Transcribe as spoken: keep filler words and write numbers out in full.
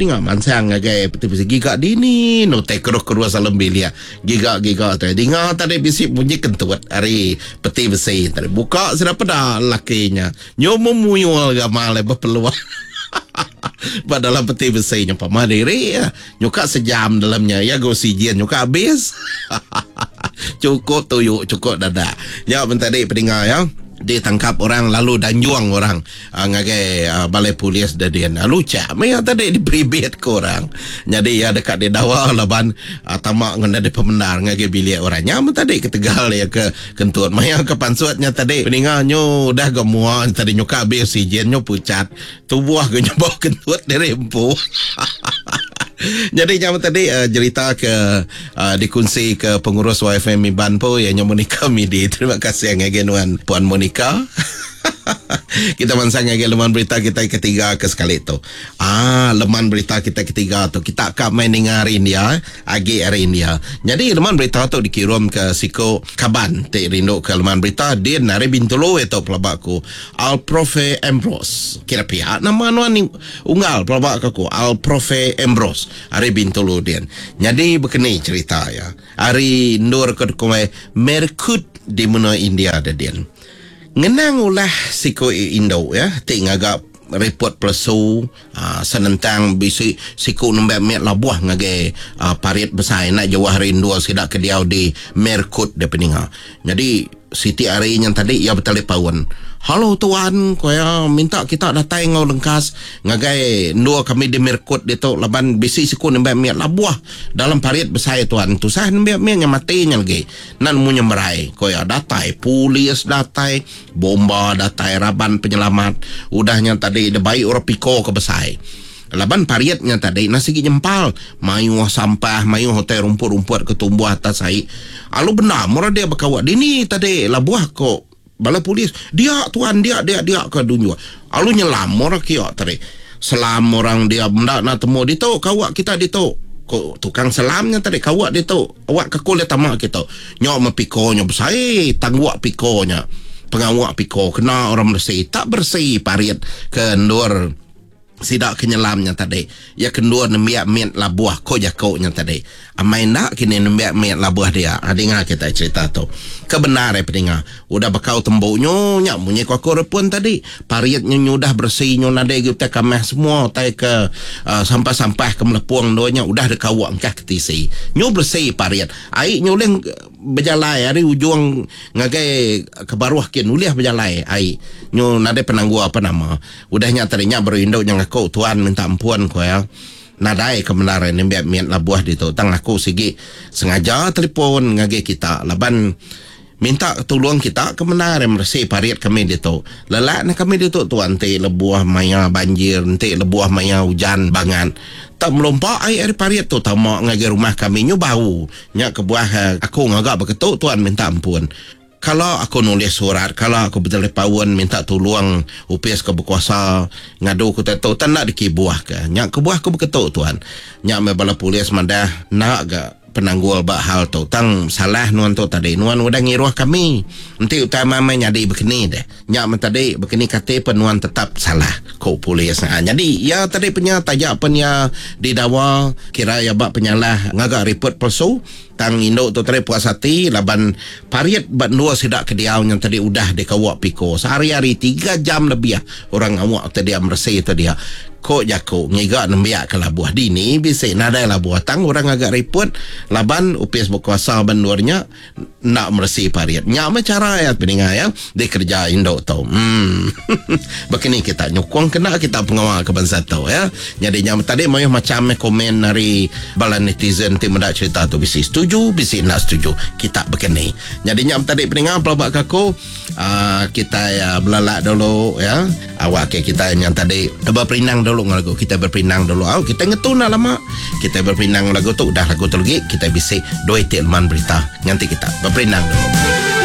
Peninga mansang ngagai peti besi giga dini no te keruh-keruh dalam bilik. Giga-giga tadi dinga tadi bisi bunyi kentut ari peti besi tadi. Buka sudah peda lakinya. Nyomo muyul gamal bepeluang. Ba dalam peti besi nya pama diri ya. Nyuka sejam dalamnya ya go oksigen nyuka habis. Cukup tuyuk cukup dadak. Ya ben tadi peninga ya. Ditangkap orang lalu danjuang orang uh, ngagai uh, balai polis dadin. Uh, lucak maya tadi diperibit ke orang. Jadi ya dekat didawa laban uh, tamak ngena di pemendar ngagai bilik orang. Nya tadi ketegal ya ke kentut maya ke pansutnya tadi peninga nyu udah gemua tadi nyuka habis oksigen nyu pucat. Tubuh ke nyebau kentut dari empu. Jadi jam tadi uh, cerita ke uh, dikunsi ke pengurus Y F M Iban po ya Monica Midi. Terima kasih ngagai nuan Puan Monica. Kita mansang ngagai leman berita kita ketiga ke sekali tu. Ah, leman berita kita ketiga tu kita kak main dengar hari India, agi hari India. Jadi leman berita tu dikirim ke Siko Kaban ti rindu ke leman berita din hari Bintulu itu pelabaku Al Profe Ambrose. Kira pihak nama nuan ni unggal pelabak aku Al Profe Ambrose hari Bintulu din. Jadi begini cerita ya. Hari Nur ke kumai Merkut di menua India din. Ngenang ulah siko Indo ya, ti ngagak report plesu uh, senentang bisi siku nembak met labuah ngagai uh, parit besar nak jauh hari Indo sidak ke diau di Merkut de peninga. Jadi Siti Ari yang tadi ia bertelepaun. Halo tuan, koya minta kita datang ngau lengkas ngagai dua kami di Merkut ditu laban bisi siku nembak met labuah dalam parit besar tuan. Tusah nembak met yang matinya lagi. Nan mu nyemerai. Koya datai polis datai, bomba datai, raban penyelamat. Udahnya tadi de baik orang piko ke besar. Laban pariatnya tadi nasi gigi nyempal mayuh sampah mayuh hotel rumput-rumput ketumbuh atas air. Alu benar murah dia berkawat dini tadi labuah kok bala polis dia tuan dia dia dia ke dunia. Alu nyelam murah kiok tadi. Selam orang dia benda nak temu ditu kawak kita ditu. Kok tukang selamnya tadi kawak ditu. Awak kekul dia tamak kita. Nyok mepikonya besar tangguak pikonya. Pengawak piko kena orang bersih tak bersih pariat ke ndur sidak kenyelamnya tadi. Ya kendua nembiak miat labuah ko jakoknya tadi. Amai nak kini nembiak miat labuah dia. Ha, dengar kita cerita tu. Kebenar eh pendengar. Udah bekau temboknya nyak munyi ko aku repun tadi. Pariatnya udah bersih nyo nadai kita kamah semua tai ke uh, sampah-sampah ke melepuang doanya udah dekawak engkah ke tisi. Nyo bersih pariat. Ai nyo leng berjalai hari ujung ngagai ke baruah kin uliah berjalai ai. Nyo nadai penanggu apa nama. Udahnya tadinya berinduk yang aku tuan minta ampun ko ya. Nadai kebenaran nembiak miat labuah ditu. Tang aku sigi sengaja telefon ngagai kita laban minta tolong kita kebenaran bersih parit kami ditu. Lelak na kami ditu tuan ti lebuah maya banjir, ti lebuah maya hujan bangan. Tak melompak air dari parit tu tamak ngagai rumah kami nyu bau. Nya kebuah aku ngagak beketuk tuan minta ampun. Kalau aku nulis surat, kalau aku bertelepaun minta tolong upis ke berkuasa ngadu ku tetu tak nak dikibuah ke. Nyak kebuah aku berketuk tuan. Nyak me bala polis madah nak ga penanggul bak hal tu. Tang salah nuan tu tadi. Nuan udah ngiruh kami. Nanti utama mai nyadi bekeni deh. Nyak men tadi bekeni kate penuan tetap salah ko polis. Ha, jadi ya tadi punya tajak penya didawa kira ya bak penyalah ngagak report palsu. Tang induk tu tadi puas hati laban pariat bak dua sidak ke diau yang tadi udah dikawak piko sehari-hari tiga jam lebih orang awak tadi bersih tadi. Kok jako ngiga nembiak ke labuah dini bisik nadai labuah tang orang agak repot laban upis berkuasa bandurnya nak bersih pariat. Nyak macam cara ya peninga ya dikerja induk tu. Hmm. Begini kita nyokong kena kita pengawal ke bangsa tu ya. Jadi nyam tadi mayuh macam komen dari bala netizen ti mendak cerita tu bisik setuju bisik nak setuju kita begini. Jadi nyam tadi peninga pelabak kaku uh, kita ya belalak dulu ya. Awak ke kita yang tadi berperinang dulu lagu kita berpinang dulu. Oh, kita ngetun dah lama. Kita berpinang lagu tu udah lagu tu lagi kita bisik dua itik leman berita. Nanti kita berpinang dulu.